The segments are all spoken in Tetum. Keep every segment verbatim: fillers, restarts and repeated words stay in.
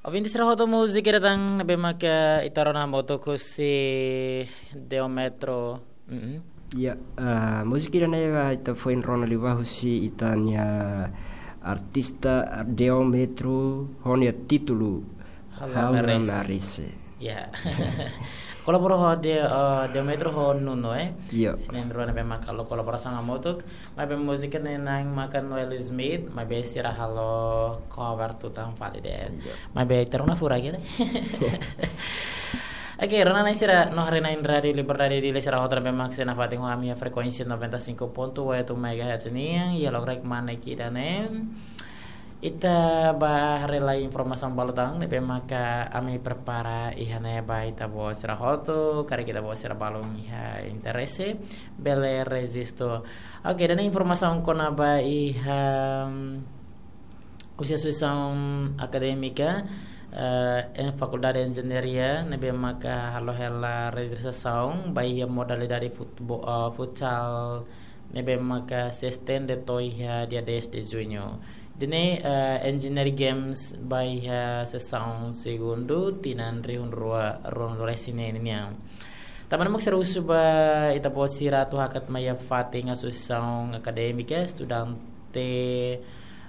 Ouvinte sira hotu, múzika ida tan ne'ebé maka ita rona hamutuk husi Deometro. Mm-mm. Ya, ah, múzika ida-ne'e ba ita foin rona liubá husi ita-nia artista Deometro ho nia títulu Ha'u Ha'u Namarice. Namarice. Ya. Kolabora ho de, eh, Deometro ho Nuno, eh. Ya. Sira na'in-rua ne'ebé maka halo kolaborasaun hamutuk. Maibé múzika ne'e na'in maka Noel Smith, maibé sira halo cover tutan fali de'it. Iya. Maibé ita rona furak de'it. Oke, rona-na'in sira, no haree-na'in Rádiu Liberdade Dili sira hotu ne'ebé mak sei nafatin ho ami iha frekuénsia noventa e cinco ponto oito megahertz nian, iha loron kmanek ida-ne'e. Ita bá haree lai informasaun balu tan ne'ebé maka ami prepara iha ne'e ba ita-boot sira hotu, karik ita-boot sira balun iha interese, bele rejistu. Oke, ida-ne'e informasaun kona-ba iha, mm, husi asosiasaun akadémika, eh, iha Fakuldade Enjeñaria, ne'ebé maka halo hela rejistrasaun ba iha modalidade futebo-, eh, futsal, ne'ebé maka sei estende to'o iha dia dez de junho. Ida-ne'e, eh, Engineering Games ba iha sesaun segundu, tinan rihun rua ruanulu-resin-neen nian. Tanba ne'e mak sira husu ba ita-boot sira atu hakat mai iha fatin asosiasaun akadémika, estudante,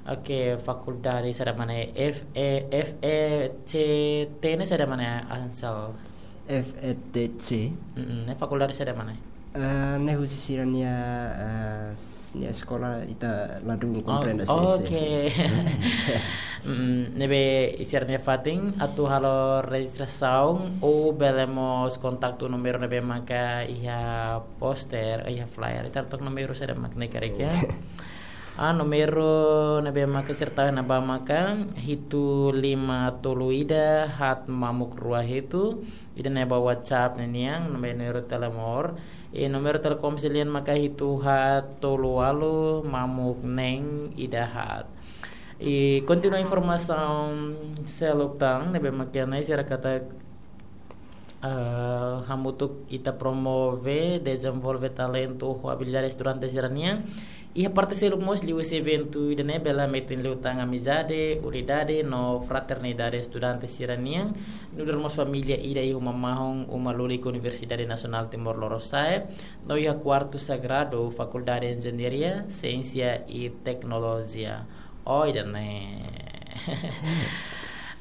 oke, fakuldade saida mak ne'e, F E, F E C T ne'e saida mak ne'e, Ansel? F E T C. Mm-mm, ne'e fakuldade saida mak ne'e? Eh, ne'e husi sira-nia, eh, nia eskola ita ladún Oh, komprende, sin, sin, oke. sin, sin. Mm, ne'ebé iha sira-nia fatin atu halo rejistrasaun ou bele mós kontaktu númeru ne'ebé maka iha poster, iha flyer. Ita took númeru saida mak ne'e karik ya. Ah, númeru ne'ebé maka sira tau iha ne'ebá maka hitu lima tolu ida haat mamuk rua hitu. Ida-ne'e ba WhatsApp ne'e nian, númeru Telemor. I númeru Telkomsel nian maka hitu haat tolu ualu mamuk neen ida haat. I kontinua informasaun seluk tan ne'ebé maka ne'e sira katak, eh, hamutuk ita promove, dezenvolve talentu ho abilidade estudante sira-nian. Iha parte seluk mós liuhusi eventu ida-ne'e bele hametin liután amizade, unidade no fraternidade estudante sira-nian. Nu'udar mós família ida iha uma mahon, uma lulik Universidade Nasionál Timor Lorosa'e, no iha kuartu sagradu Fakuldade Enjeñaria, Siénsia i Teknolojia. Oh, ida-ne'e.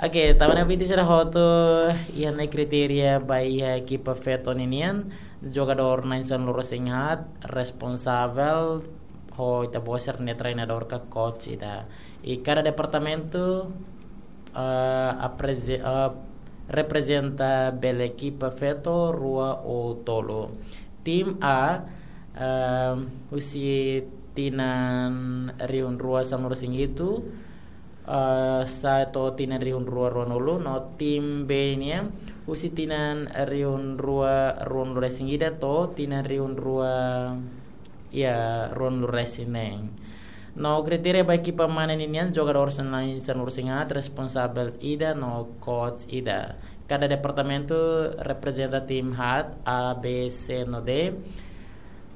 Oke, tanba ne'e ouvinte sira hotu, iha ne'e kritéria ba iha ekipa feto ninian, jogadór na'in sanulu-resin-haat, responsavel, ho ita-boot sira-nia treinadór ka coach ida. I kada departamentu, eh, apreze-, eh, reprezenta bele ekipa feto rua ou tolu. Tim A, eh, husi tinan rihun rua sanulu-resin-hitu, eh, sa'e to'o tinan rihun rua ruanulu, no tim B nian, husi tinan rihun rua ruanulu-resin-ida to'o tinan rihun rua, ya, ruanulu-resin-neen. No kritéria ba ekipa mane ninian, jogadór na'in sanulu-resin-haat, responsavel ida no coach ida. Kada departamentu reprezenta tim haat, A, B, C no D.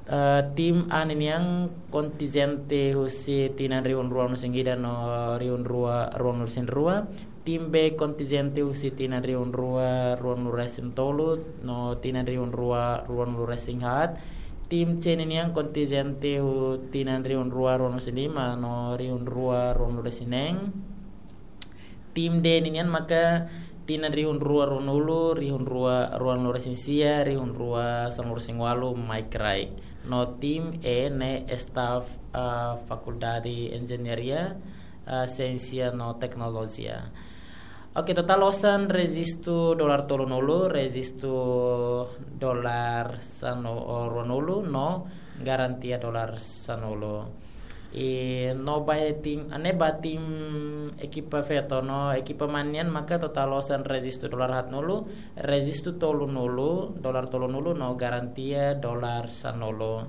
Eh, tim A ninian kontinjente husi tinan rihun rua ruanulu-resin-ida no rihun rua ruanulu-resin-rua. Tim B kontinjente husi tinan rihun rua ruanulu-resin-tolu no tinan rihun rua ruanulu-resin-haat. Tim C ninian kontinjente husi tinan rihun rua ruanulu-resin-lima no rihun rua ruanulu-resin-neen. Tim D ninian maka tinan rihun rua ruanulu, rihun rua ruanulu-resin-sia, rihun rua sanulu-resin-ualu mai kraik. No tim E ne'e staff, eh, Fakuldade Enjeñaria, eh, Siénsia no Teknolojia. Oke, totál osan rejistu dolar tolunulu, rejistu dolar sanu, o, ruanulu, no garantia dolar sanulu. I no ba tim, ne'e ba tim ekipa feto no ekipa mane nian maka totál osan rejistu dolar haatnulu, rejistu tolunulu, dolar tolunulu no garantia dolar sanulu.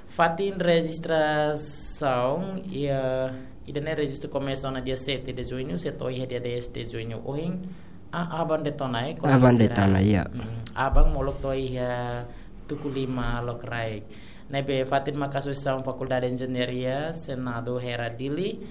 Fatin rejistrasaun, ya, ida-ne'e rejistu komesa ona dia sete de junho, sei to'o iha dia dez de junho. Ohin, a, aban de'it ona, eh, kolega Aban de'it sira. ona, ya. Mm, aban molok to'o iha tuku lima lokraik. Ne'ebé fatin maka Asosiasaun Fakuldade Enjeñaria, Senadu Hera Dili,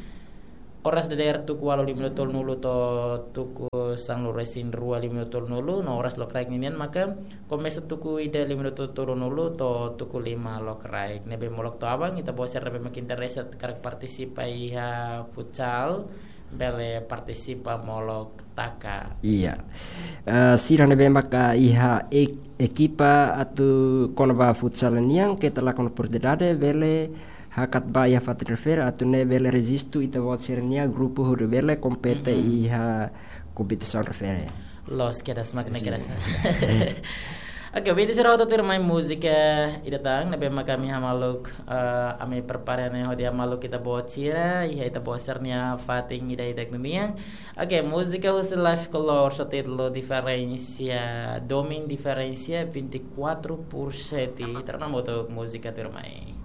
Oras dadeer tuku ualu lima tolunulu to'o tuku sanulu-resin-rua lima tolunulu, no oras lokraik ninian maka komesa tuku ida lima tolunulu to'o tuku lima lokraik. Ne'ebé molok to'o aban, ita-boot sira ne'ebé mak interese karik partisipa iha futsal, bele partisipa molok taka. Iya. Eh, sira ne'ebé maka iha ek-, ekipa atu kona-ba futsal nian, keta lakon oportunidade, bele hakat ba iha fatin refere atu nune'e bele rejistu ita-boot sira-nia grupu hodi bele kompete Mhm. iha kompetisaun refere. Loos kedas, mak ne'e Sin. kedas. Oke, oinsá sira hotu tuirmai múzika ida tan, ne'ebé maka ami hamaluk, eh, ami prepara ne'e hodi hamaluk ita-boot sira, iha ita-boot sira-nia fatin ida-idak ninian. Oke, múzika husi Life Color, ho títulu Diferensia, domin Diferensia vinte e quatro por sete. Ita rona hamutuk múzika tuirmai.